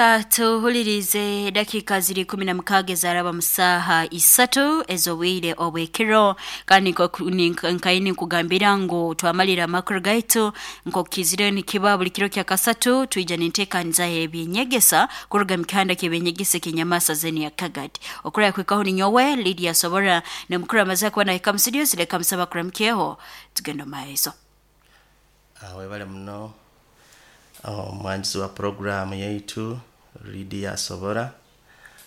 Leka tuhulirize dakika ziri 16 ezaraba mu saaha 3 ez'obwire obw'ekiro, kandi nkaini nkugambira ngu twamalira amakuru gaitu nk'okukizire nikiba buli kiro kya kasatu twija ninteekaniza ebyenyegesa kuruga mu kihanda ky'ebyenyegesa eky'enyamasa zeni ya Kagadi. Okuraya kwikaho ninyowe Lydia Sobora nemukuru amaze kuba nahika mu studio zireka musaba kuramukyeho tugenda mu maiso. Webale muno omwanjuzi wa puroguramu yaitu Lydia Sobora.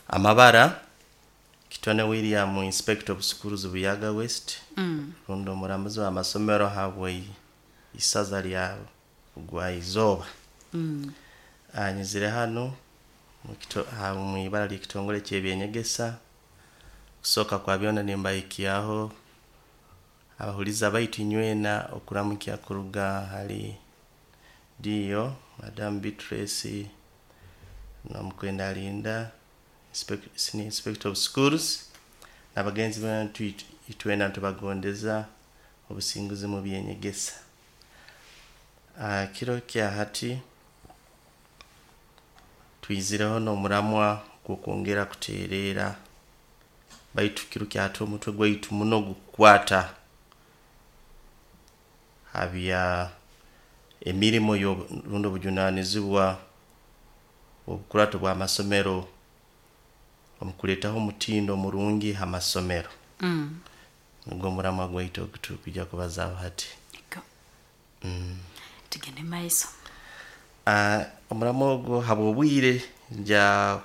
Amabara Kitone William, Inspector of Schools Buyaga West, rundi omuramuzi w'amasomero habwe isaza lya Bugwa-izooba. Nyizire hanu mu ibara ly'ekitongole ky'ebyenyegesa. Kusooka kwa byona nimbahikyaho abahuliza baitu inywena okuramukya kuruga hali DO Madam Beatrice Namukwenda Alinda, Senior Inspector of Schools, n'abagenzi bantu itwena ntubagondeza obusinguzi mu byenyegesa. Kiro kya hati twizireho n'omuramwa gw'okwongera kuteereera, baitu kiro kya hati omutwe gwaitu muno gukukwata ha bya emirimo rundi obujunaanizibwa obukurato bw'amasomero omu kuleetaho omutindo omurungi ha masomero. Nugwo omuramwa gwaitu ogu turukwija kubazaaho hati. Tugende maiso. Omuramwa ogu habw'obwire nja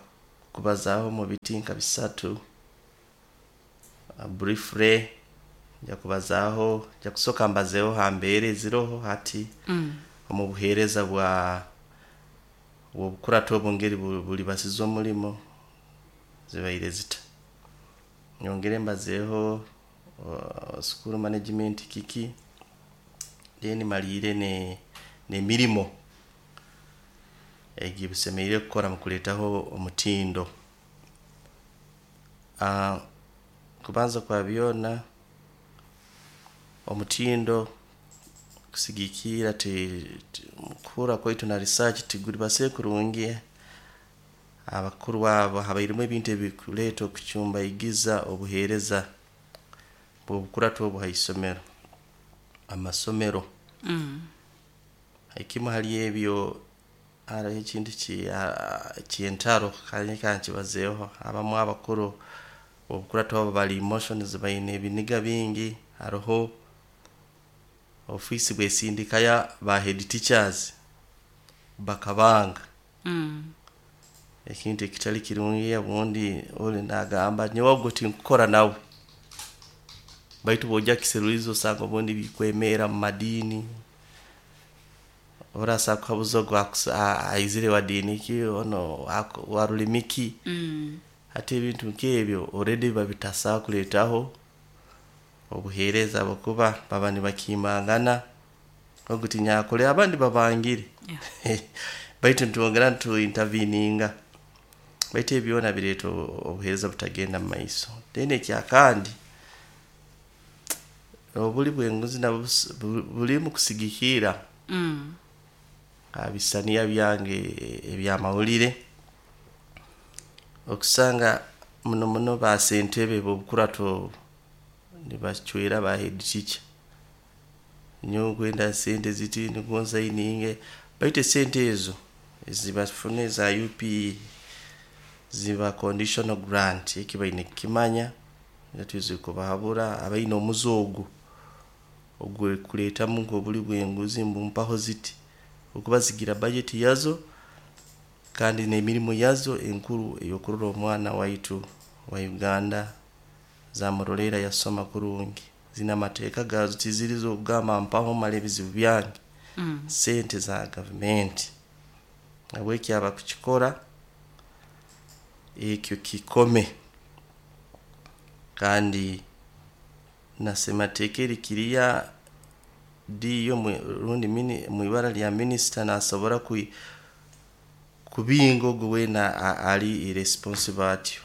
kubazaaho mu biti nka bisatu. Briefly nja kubazaaho, nja kusooka mbazeeho ha mbeera eziroho hati omu buheereza bwa obukurato obu ngeri bulibasiza omulimo zibaire zita. Nyongere mbazeeho school management kiki, then maliire n'emirimo egi busemeriire kukora mu kuleetaho omutindo. Kubanza kwa byona, omutindo kusigikirra mukuhurra kwaitu na research tigulibasire kurungi. Abakuru abo habairemu ebintu ebikuleeta okucumbaigiza obuheereza bw'obukurato obu ha isomero, amasomero. Ekimu hali ebyo haroho ekintu ky'entaro kandi kankibazeeho. Abamu abakuru obukurato abo bali emotions, baine ebiniga bingi. Haroho ofiisi bwesindikayo ba head teachers bakabanga. Ekintu ekitali kirungi, obundi oli nagamba nyowe ogu tinkukora nawe, baitu bwojya kukiseruliiriza osanga obundi bikwemerra mu madiini. Orasa kukaguza ogu aizire wa diini ki, onu wa rulimi ki. Hati ebintu nk'ebyo already biba bitasobora kuleetaho obuheereza habwokuba baba nibakiimangana, ogu tinyakole abandi babangire. Baitu nitwongera nitu interveninga, baitu ebi byona bireeta obuheereza butagenda mumaiso. Then ekyakandi, obuli bw'enguzi nabwo buli mukusigikirra ha bisaniya byange eby'amawulire, okusanga muno muno ba sentebe b'obukurato obu nibacwera ba head teacher, nyowe nkwenda sente ziti nukwo nsayininge, baitu esente ezo ezibafuna eza UPE ziba conditional grant, eki baine kukimanya, twizire kubahabura abaine omuze ogu ogw'okuleetamu nk'obuli bw'enguzi mbu mpaho ziti, habwokuba zigira budget yazo kandi n'emirimo yazo enkuru ey'okurora omwana waitu wa Uganda zamurolerra yasoma kurungi. Ziine amateeka gaazo, tiziri z'okugamba mpaho male ebizibu byange, sente za gavumenti. Habweki abakukikora ekyo kikome, kandi na semateeka eri kiriya DO rundi mu ibara lya minisita nasobora kubinga ogu weena ali irresponsible atyo,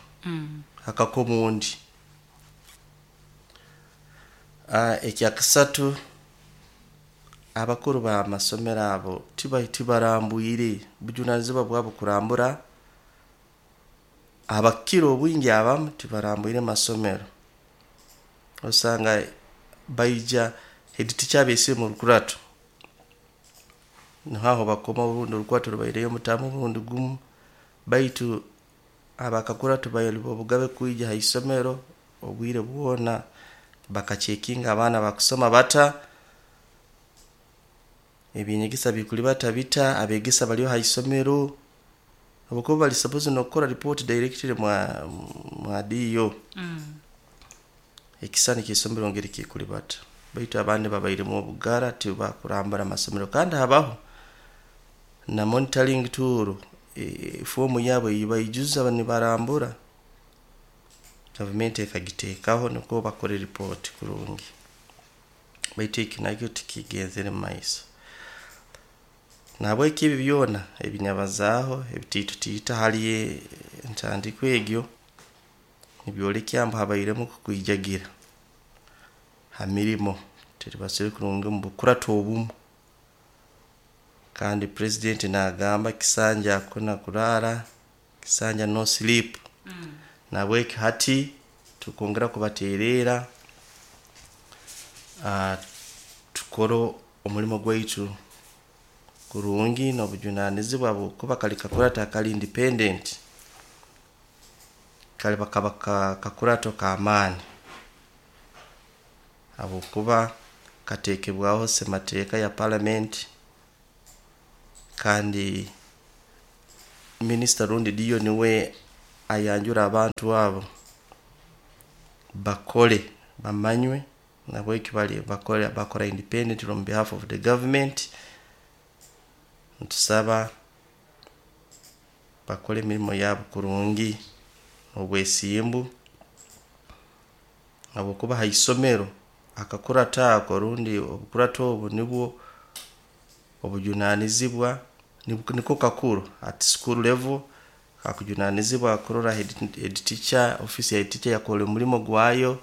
akakoma ondi. Ekyakasatu, abakuru b'amasomero abo tibarambwire, bujunaanizibwa bwabo kurambura. Abakira obwingi abamu tibarambwire masomero, osanga baija head teacher abeesire mu rukurato, niho aho bakoma obundi orukurato rubaireyo omutamu omurundi gumu. Baitu abakakurato baine obugabe kwija ha isomero obwire bwona bakacekinga abaana bakusoma bata, ebyenyegesa bikulibata bita, abegesa baliyo ha isomero, habwokuba bali supposed n'okukora report directly mwa DO. Ekisani ky'isomero ngeri kikulibata. Baitu abandi babairemu obugara tibakurambura amasomero, kandi habaho na monitoring tool, fomu yabo ei baijuza nibarambura, gavumenti ekagiteekaho nukwo bakore report kurungi. Baitu eki nakyo tikigenzere mumaiso. Nahabweki ebi byona ebinyabazaaho ebitiitutiita hali entandikwa egyo, nibyolekya ngu habairemu kukwijagira ha mirimo, tirubasire kurungi omu bukurato obumu. Kandi president naagamba kisanja hakuna kulala, kisanja no sleep. Nahabweki hati tukwongera kubateererra, tukore omulimo gwaitu kurungi n'obujunaanizibwa habwokuba kali kakurato akali independent, kali bakaba kakurato k'amaani habwokuba kateekebwaho semateeka ya parliament, kandi minisita rundi DO niwe ayanjura abantu abo bakole bamanywe, nahabweki bali bakora bakora independent on behalf of the government. Nitusaba bakole emirimo yabo kurungi n'obwesimbu, habwokuba ha isomero akakurato ako rundi obukurato obu nibwo obujunaanizibwa niko kakuru at school level kakujunaanizibwa kurora head teacher, office ya head teacher yakora omulimo gwayo,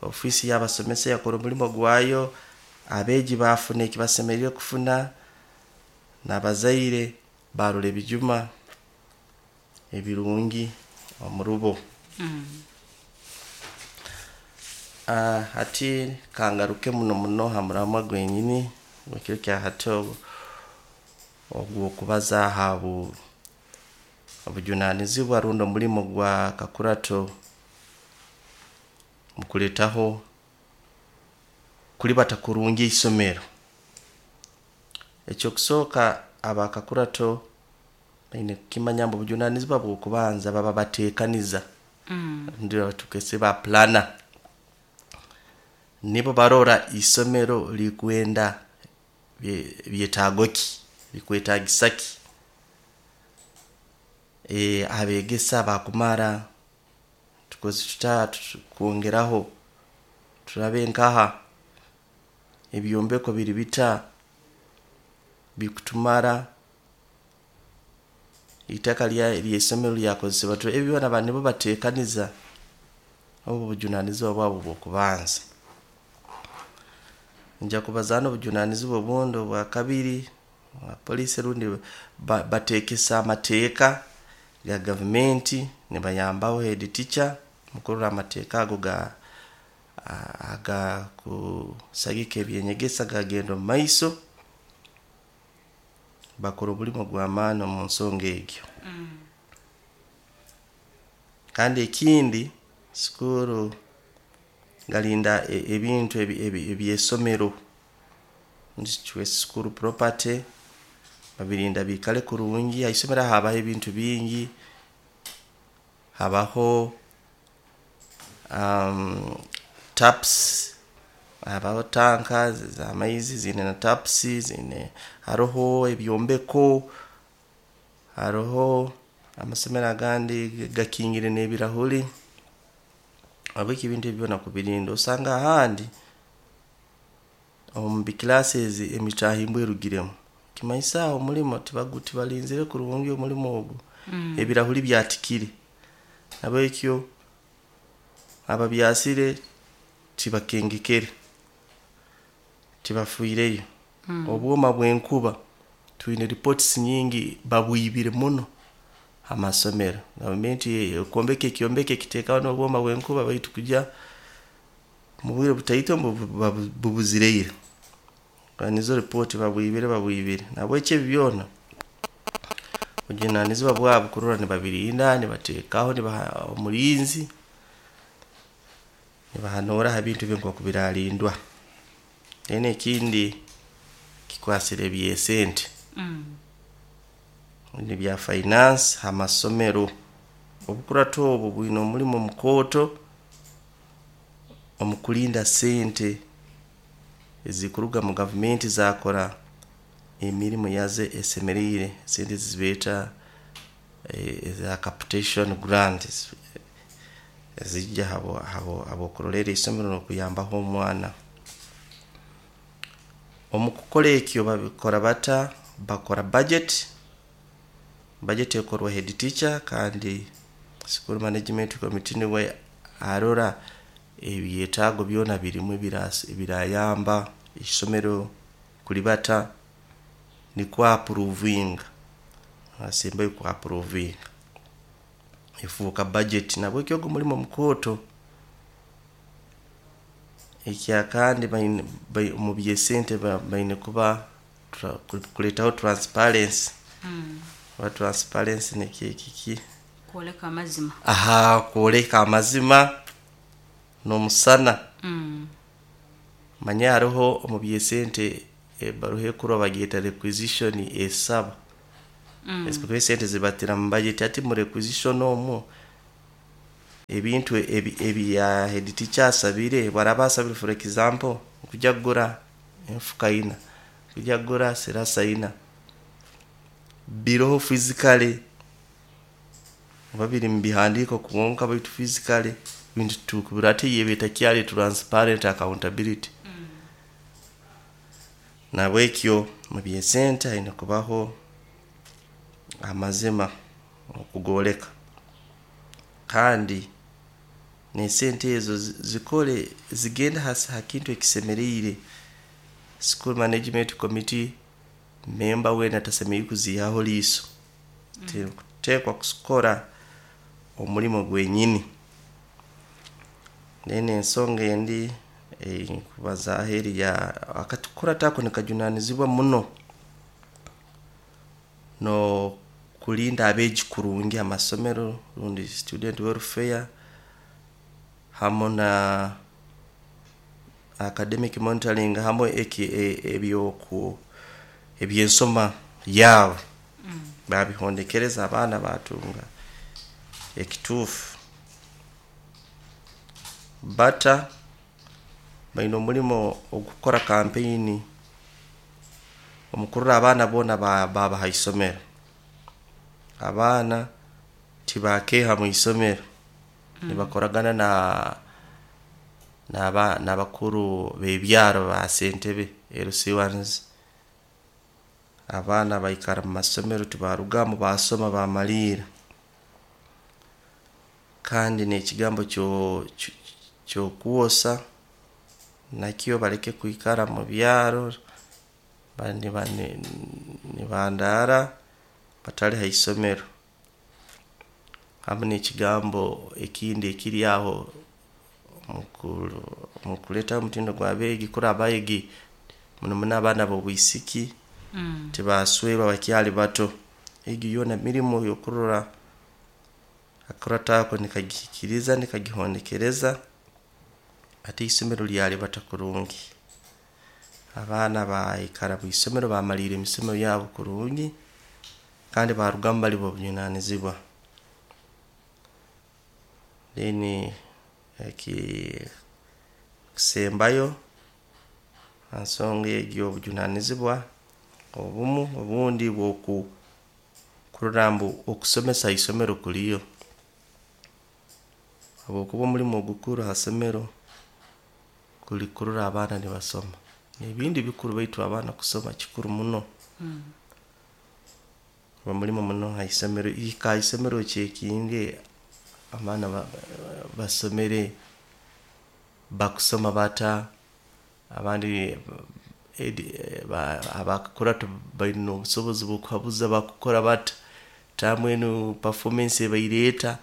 office y'abasomesa yakora omulimo gwayo, abeegi baafuna eki basemeriire kufuna, n'abazaire baarora ebijuma ebirungi omurubo. Hati kangaruke muno muno ha muramwa gwenyini ekiro kya hati ogw'okubaza ha obujunaanizibwa rundi omulimo gwa kakurato mukuleetaho kulibata kurungi isomero. Ekyokusooka abakakurato baine kukimanya ngu obujunaanizibwa bw'okubanza baba bateekaniza, rundi tukese ba planner, nibo barora isomero likwenda byetaago ki, likwetaagisa ki, abeegesa bakumara, tukoze tuta kwongeraho, turabe nkaha, ebyombeko biri bita, bikutumara, itaka ly'isomero lyakozesebwa, ebi byona baba nibo bateekaniza, obu obujunaanizibwa bwabo obw'okubanza. Nyija kubazaaho n'obujunaanizibwa obundi obwakabiri, police rundi bateekesa amateeka ga gavumenti nibayambaho head teacher mukurora amateeka ago agakusagika eby'enyegesa gagenda omumaiso, bakora omulimo gw'amaani omu nsonga egyo. Kandi ekindi, sukuru galinda ebintu eby'isomero, school property babirinda biikale kurungi. Ha isomero habaho ebintu bingi, habaho taps, habaho tanka z'amaizi ziine na taps, ziine haroho ebyombeko, haroho amasomero agandi gakingire n'ebirahuri, habweki ebintu ebi byona kubirinda, osanga ahandi omu bi classes emitahimbwa erugiremu, nikimanyisa aho omulimo tibalinzire kurungi omulimo ogu, ebirahuri byatikire. Nahabwekyo ababyasire tibakengekere, tibafiireyo. Obwoma bw'enkuba twine reports nyingi babwibire muno. Amasomero gavumenti ekwombeka ekyombeko ekiteekaho n'obwoma bw'enkuba, baitu kujya mu bwire butaito bubuzireire. Nizo ripooti babwibire babwibire. Nahabweki ebi byona bujunaanizibwa bwabo kurora nibabirinda, nibateekaho, nibaha omulinzi, nibahanuura ha bintu ebi nkooku biraarindwa. Then ekindi kikwasire eby'esente ebya finance ha masomero. Obukurato obu bwine omulimo mukooto omu kulinda sente ezikuruga mu gavumenti zaakora emirimo yazo esemeriire, sente ezi beeta eza capitation grant ezijja habw'okurolerra isomero n'okuyambaho omwana. Omu kukora ekyo babikora bata? Bakora budget, budget ekorwa head teacher kandi school management committee niwe arora ebyetaago byona birimu ebirayamba isomero kulibata nikwo approvinga, asembayo ku approvinga efuuka budget. Nahabweki ogu mulimo mukooto. Ekyakandi baine mu by'esente baine kuba kuleetaho transparency. Oba transparency nikyo kiki? Kwoleka amazima. Aha, kwoleka amazima n'omusana. Manya haroho omu by'esente ebaruha ekurwa bagyeta requisition esaba. Esente zibatira mu budget, hati mu requisition omwo ebintu ebi head teacher asabire, obu araaba asabire for example kujya kugura enfuka ina, kujya kugura sirasa ina, biroho physically oba biri mu bihandiiko kwonka baitu physically bintu titukubirora, hati eba etakyali transparent accountability. Nahabwekyo mu by'esente haine kubaho amazima okugooleka, kandi n'esente ezo zikole zigende ha kintu ekisemeriire. School management committee member weena tasemeriire kuziihaho liiso, teekwa kukora omulimo gwenyini. Then ensonga endi ei nkubazaaho eri ya akakurato ako nikajunaanizibwa muno n'okulinda abeegi kurungi ha masomero rundi student welfare hamu na academic monitoring hamu eki eby'ensoma yaabo baabihondekereza abaana baatunga ekituufu. Bata baine omulimo ogw'okukora campaign omu kurora abaana boona baaba ha isomero. Abaana tibaakeeha mwisomero, nibakoragana n'abakuru b'ebyaro ba sentebe LC1s. Abaana baikara mu masomero tibarugamu baasoma baamaliira. Kandi n'ekigambo ky'okwosa nakyo baleke kwikara mu byaro nibandaara batali ha isomero. Hamu n'ekigambo ekindi ekiri aho omu kuleetaho omutindo gw'abeegi kurora abeegi muno muno abaana b'obwisiki tibaswerwa bakyali bato. Egi yoona mirimo y'okurora akakurato ako nikagihikiriza nikagihondekereza hati isomero lyalibata kurungi. Abaana baikara mwisomero baamaliira emisomo yabo kurungi kandi baarugamu bali b'obujunaanizibwa. Then ekikusembayo ha nsonga egi y'obujunaanizibwa obumu obundi bw'okurora ngu okusomesa ha isomero kuliyo, habwokuba omulimo ogukuru ha isomero kuli kurora abaana nibasoma. Ebindi bikuru baitu abaana kusoma kikuru muno. Guba mulimo muno ha isomero, hika ha isomero ocekinge abaana basomere, bakusoma bata, abandi abakakurato baine obusobozi bw'okuhabuza bakukora bata. Taamu enu performance ebaire eta,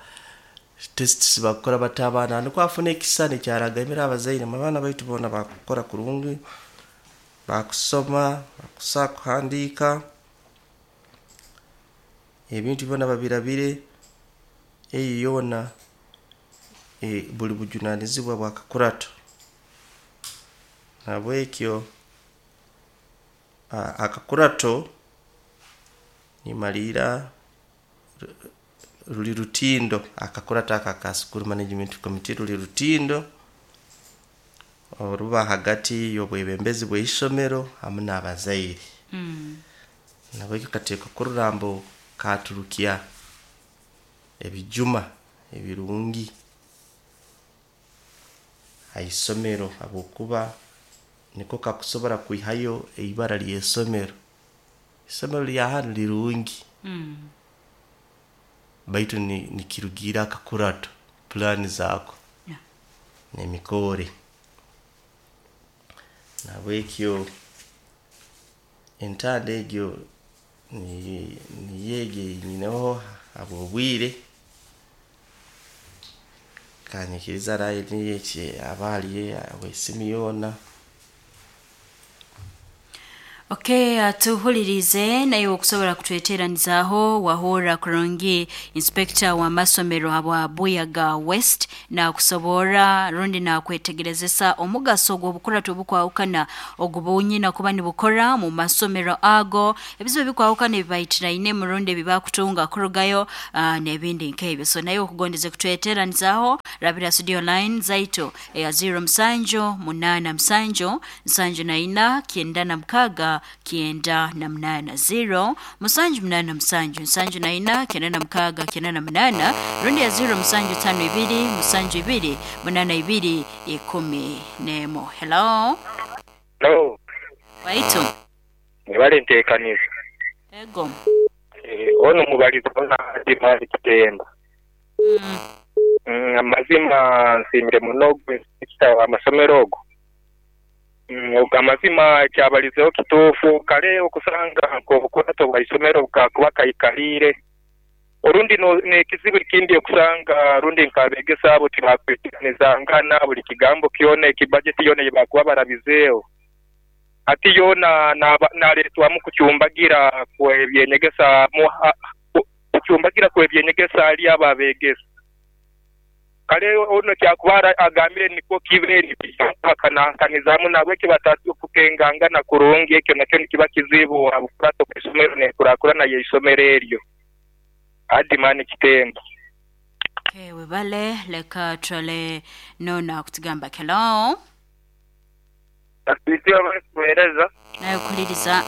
tests bakukora bata abaana, nikwo afuna ekisisani ekyaragamira abazaire ngu abaana baitu boona bakukora kurungi, bakusoma, bakusobola kuhandiika, ebintu byona babirabire, eyo yoona buli bujunanizibwa bw'akakurato. Nahabwekyo akakurato nimaliira ruli rutindo, akakurato ako aka school management committee ruli rutindo oruba hagati y'obwebembezi bw'isomero hamu n'abazaire. Nahabwekyo kateekwa kurora mbu katurukya ebijuma ebirungi ha isomero habwokuba niko kakusobora kwihayo ibara ly'isomero. Isomero lya hanu lirungi baitu nikirugiirra akakurato, pulaani zaako n'emikoore. Nahabwekyo entanda egyo niyo egi ei nyineho habw'obwire, kanyikirize line eki aba haliyo habw'esimu yoona. Okay, atuhulirize naye okusobora kutweteranizaaho wahurra kurungi inspector w'amasomero habwa Buyaga West nakusoborra rundi nakwetegerezesa omugaso gw'obukurato obukwahukana ogubunyina kuba nibukora mu masomero ago, ebizibu ebikwahukana ebibaitiraine rundi ebibakutunga kurugayo n'ebindi nk'ebyo. So naye okugondeze kutweteranizaaho rabira studio line zaitu eya 07 87 74 96 98 0 787 74 96 98 rundi ya 0 752 72 82 11. Hello. Hello. Waitu. Mwebale nteekaniza. Ego. Ono mubaliza ona Adimani Kitemba. Amazima nsiimire muno ogwo inspector w'amasomero ogwo. Amazima kyabalizeho kituufu kale okusanga nk'obukurato bwa isomero bukakuba kaikaliire orundi n'ekizibu ekindi okusanga rundi nk'abeegesa abo tibakwikiranizangana buli kigambo kyona ekibajeti yoona eyibakuba barabizeeho ati yoona naletwamu kucumbagira kw'ebyenyegesa kucumbagira kw'ebyenyegesa hali abo abeegesa. Kale ono kyakuba agambire nikwo kibe bakanankanizamu nahabwekyo batakukengangana kurungi ekyo nakyo nikiba kizibu habukurato bw'isomero n'enkurakurana y'isomero eryo. Adimani Kitemba. Okay, webale leka twale nona kutugamba hello. Atwite abakuweereza. Naye okuliriza.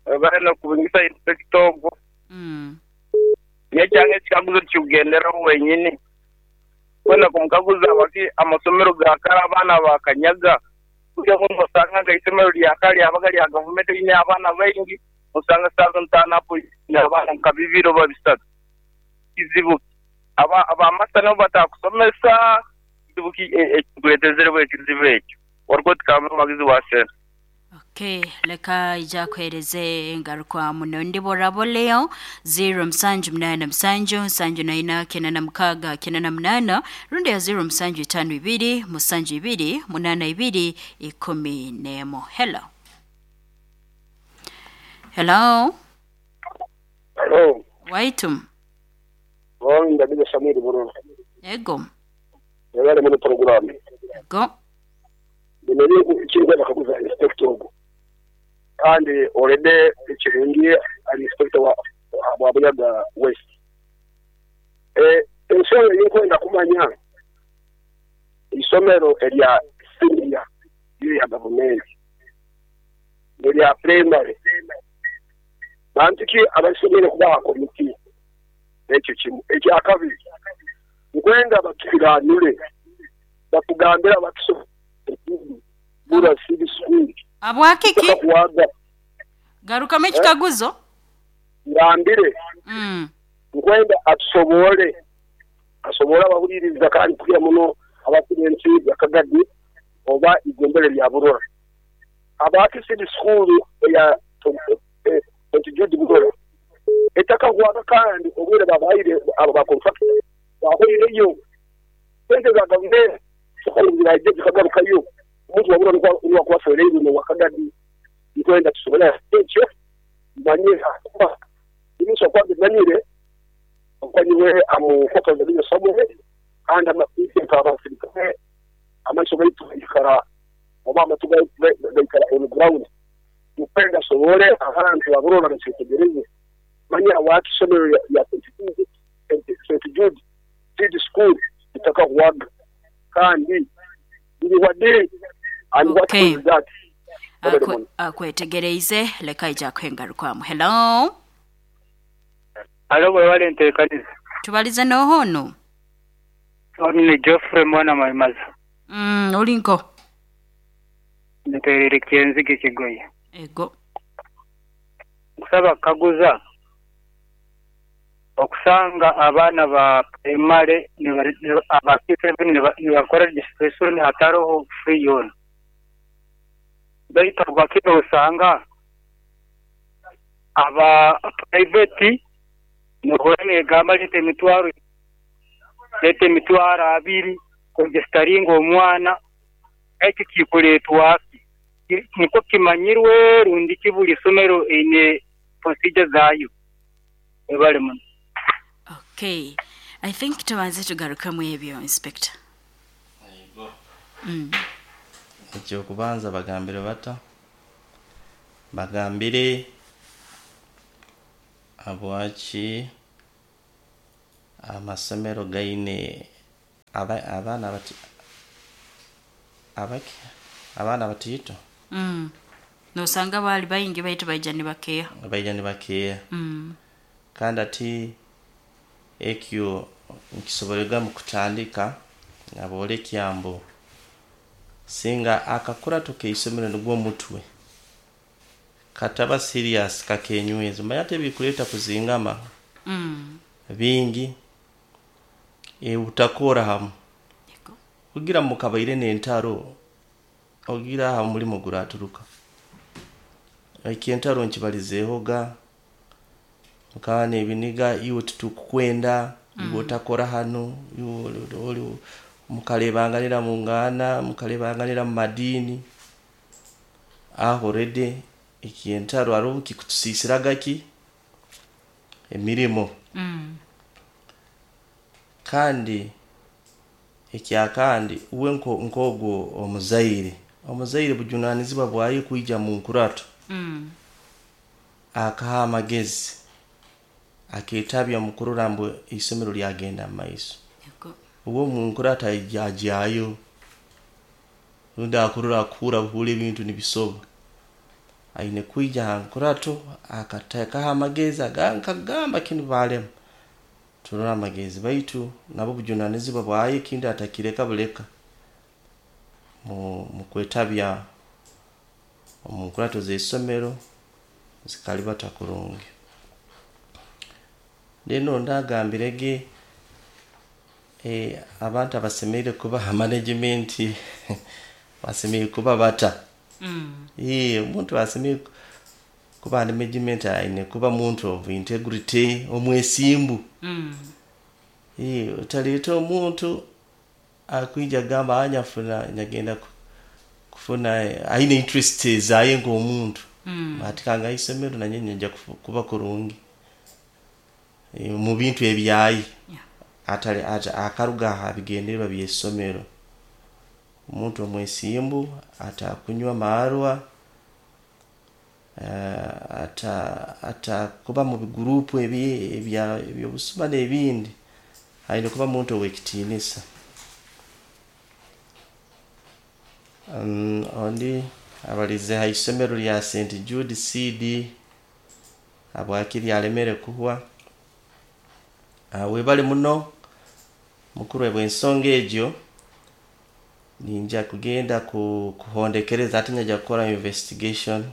Bale n'okubingisa inspector ogwo. Yekyanga ekikaguzo kikugenderaho wenyini. Kwenda kumukaguza bati amasomero ga kare abaana bakanyaga. Burya osanga nka isomero lya kare lyabaga lya gavumenti riine abaana baingi, osanga saaha ntaano apo riine abaana nka bibiri oba bisatu. Kizibu abamasta nabo batakusomesa, kizibu ki ekikuleetezereho ekizibu ekyo? Wariko tikamba omuhagizi wa sente. Okay, leka ija kuhereze engarukwamu nondi boraboleo 0 787 74 96 98 rundi ya 0 752 72 82 11. Hello. Hello. Hello. Waitum. Wao ndabiza Shamiri Bururu. Ego. Yale muri programu. Ego. Nimeri ikirwa bakaguza inspector ogwo. Kandi already ekirungi ari inspector wa Buyaga West. Ensonga y'okwenda kumanya isomero erya senior ya gavumenti erya primary bantu ki abasomere kubaha komiti ekyo kimu. Ekyakabiri nkwenda batukiranire bakugambira batusomere bura city school abwakiki garukamu ekikaguzo ngambire nkwenda atusobole asobora abahuliriza kandi kugira muno abakurensi yakagadi oba igombere lya Burora abaki city school ya Jude Burora Etakahwaga kandi obwire babahaire abo ba contractor bahoireyo sente za gavumenti ziraije zikagarukayo. Omuntu wabura niwe akuba afereirwe n'owakagadi. Nkwenda tusobole ekyo manye kuba imusa kwange manyire okwanywe amufokaza bino somwe kandi nk'abasirikale amaiso gaitu gaikara oba amatu gaikara on ground. Nkwenda sobole abantu aburora bakyetegereze manya wakisomero ya St. Jude Seed School itakahwaga kandi iri and what is that? Akwetegereize leka ija kwengarukwamu. Hello. Alo bwale ntekaniza. Tubalize nohono. Ni Geoffrey mwana Maimaza. Olinko. Nterere kenzige kigoye. Ego. Kusaba kaguza okusanga abaana ba primary aba P7 nibakora registration hataroho free yona. Baitu bakino usanga aba private nohora gamba lete emitwaro abiri kuregisteringa omwana eki kikuletwa niko kimanyirwe rundi kibuli somero ine procedure zayo ebale muno. Okay, I think tubanze tugarukamu ebyo inspector. Yego. Ekyo kubanza bagambire bata bagambire abwachi amasomero gaine abaana bati abaki abaana batito nosanga bali bayingi baitu baija nibakeya kandi ati ekyo nkisoborega mu kutandika nabole kyambo singa akakura tukeisomero nugwo mutwe kataba serious kakenyweza mayate bikuleta kuzingama bingi utakora hamu kugira mukabaire n'entaro ogira ha mulimo guraturuka ekintaro nkibalizehoga mukane ebiniga iwe tutukwenda iwe utakora hano iwe mukalebanganira mungana mukalebanganira mu madini aho rede ekintaro aro kikutusisiraga ki emirimo kandi ekyakandi uwe nkogo omuzaire bujunanizibwa bwaye kuija mu nkurato akaha amagezi aketabya mukurura mbu isomero lyagenda maiso uwo mu nkurato ajayo rundi akurura akura buhule ebintu nibisoba aine kuija nkurato akatekaha amagezi agankagamba kinu balema turora amagezi baitu nabo bujunanizibwa bwaye kindi atakireka buleka mu kwetabya mu nkurato z'isomero zikalibata kurungi. Leno ndagambirege abantu abasemeire kuba management basemeire kuba bata omuntu asemeire kuba management aine kuba muntu of integrity omwesimbu utaleta omuntu akuija gamba anyafuna nyagenda kufuna aine interest zaye ng'omuntu atikanga isomero nanye nja kuba kurungi mu bintu ebyayi atali akaruga ha bigendererwa by'isomero. Omuntu omwesimbu atakunywa marwa atakuba mu bigurupu ebyobusuma n'ebindi aine kuba muntu ow'ekitiinisa. Ondi abalize ha isomero lya St. Jude CD abwakiri alemere kuhwa. Webale muno mukuru bw'ensonga egyo ninja kugenda kuhondekereza ati nyaja kukora investigation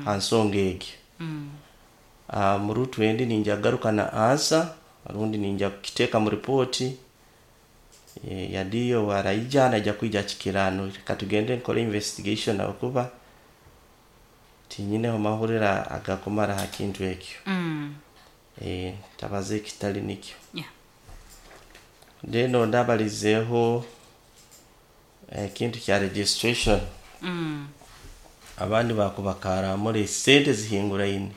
ha nsonga egyo. Murutu endi ninja garuka na answer rundi ninja kukiteeka mu ripoti yadiyo waraija naja kuija kikirano katugende nkore investigation abakuba tinyineho mahurira agakumara ha kintu ekyo. Tabaza ekitali nikyo. Yeah. Then ondi abalizeeho ekintu kya registration. Abandi bakubakaramura esente zihinguraine,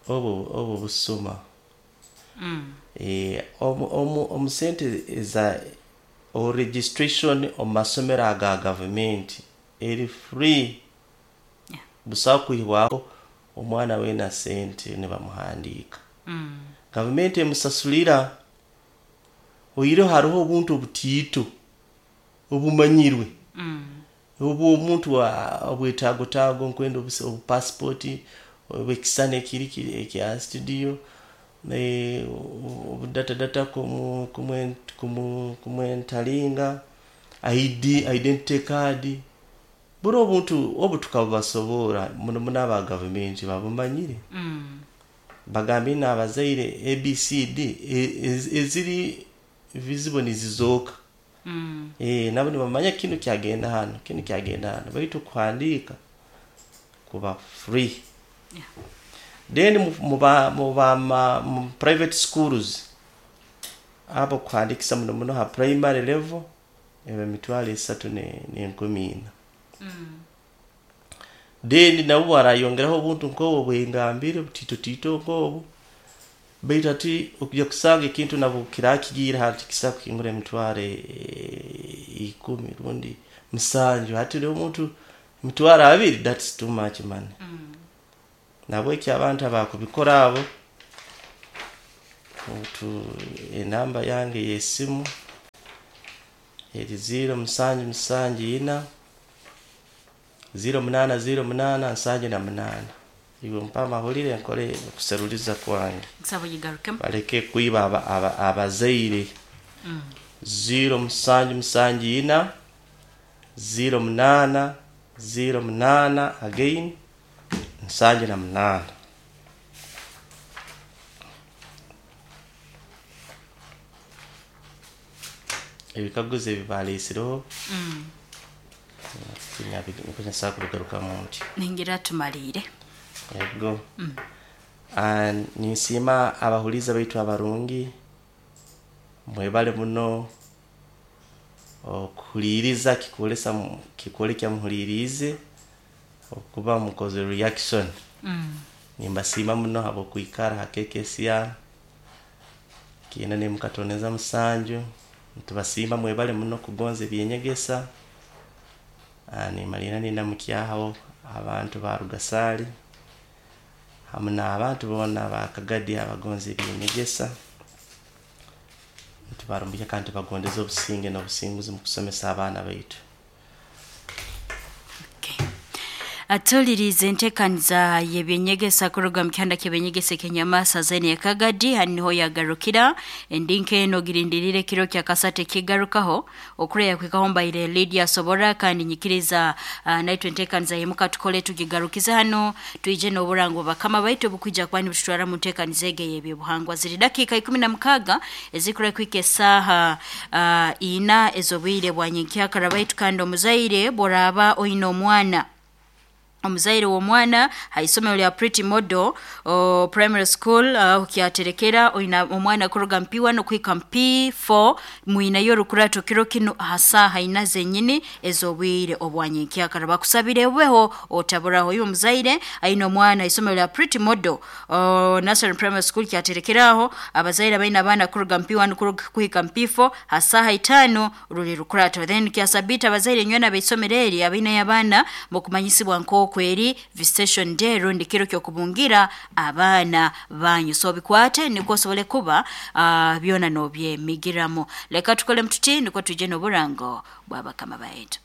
obu busuma. Omu sente eza o registration omu masomero aga gavumenti eri free. Yeah. Busaho kwihwaho omwana weena sente nibamuhandiika. Gavumenti emusasulira. Oihireho hariho obuntu obutiito obumanyirwe, obu omuntu obwetaago nkwenda obupasipoti, obwekisani ekiri ekya studio, obudatadata kumwentalinga, ID, identity card, buri obuntu obu tukabubasoborra muno muno aba gavumenti babumanyire. Bagambire n'abazaire ABCD eziri visible nizizooka. Nabo nibamanya kinu kyagenda hanu, kinu kyagenda hanu, baitu kuhandiika kuba free. Yeah. Then mu private schools abo kuhandikisa muno muno ha primary level eba 3,400. Then nabo barayongeraho obuntu nk'obu bwengambire butito nk'obu, baitu hati okujya kusanga ekintu nabo kirakigiire hati kisobola kuhingura 10,000 rundi 7, hati omuntu 20,000, that's too much money. Nabweki abantu abakubikora abo, enamba yange y'esimu eri 0774 0808 78. Iwe mpa amahulire nkore okuseruliza kwange. Nsaba ogigarukemu. Baleke kwiba abazaire. 0774 08 08 again 78. Ebikaguzo ebi baleesireho nsobola kubigarukamu nti. Ningira tumaliire. Ego. Ninsiima abahuliiza baitu abarungi, mwebale muno okuhuliiriza kikwoleka muhuliiriize okuba mukozere reaction. Nimbasiima muno habw'okwikara ha KKCR 97, nitubasiima mwebale muno kugonza eby'enyegesa. Nimaliira nindamukyaho abantu ba Rugasaali hamu n'abantu boona aba Kagadi abagonza eby'enyegesa. Nitubarumbukya kandi tubagondeza obusinge n'obusinguzi mu kusomesa abaana baitu. Okay. Atulirize entekaniza y'ebyenyegesa kuruga mu kihanda ky'ebyenyegesa eky'enyamasa zene ya Kagadi hanu niho yagarukira endinka eno girindirire kiro kya kasate kigarukaho okureya kwikaho mbaire Lydia Sobora kandi nyikiriza naitwe entekaniza yemuka tukole tugigarukize hano twije n'oburango bakama baitu obukwija kuba nibututwara mu ntekaniza ege y'ebyobuhangwa. Ziri dakika 16 ezikura kwika esaaha 4 ez'obwire bwa nyenkyakara baitu kandi omuzaire bworaba oine omwana, omuzaire w'omwana ha isomero lya Pretty Model Primary School, kyaterekera oina omwana kuruga mu P1 okuhika mu P4, mwinayo orukurato kiro kinu ha saaha ina zenyini ez'obwire obwanyenkyakara. Bakusabire obeho otaburaho. Iwe omuzaire aine omwana isomero lya Pretty Model Nursery Primary School kyaterekeraho abazaire abaine abaana kuruga mu P1 kuhika mu P4 ha saaha 5 ruli rukurato. Then kyasabita abazaire nywena abaisomero eri abaine abaana mukumanyisibwa nk'oku eri visitation day rundi kiro ky'okubungira abaana banyu. So bikwate nikwo osobole kuba byona n'obyemigiramu. Leka tukole mututi nikwo twije n'oburango bw'abakama baitu.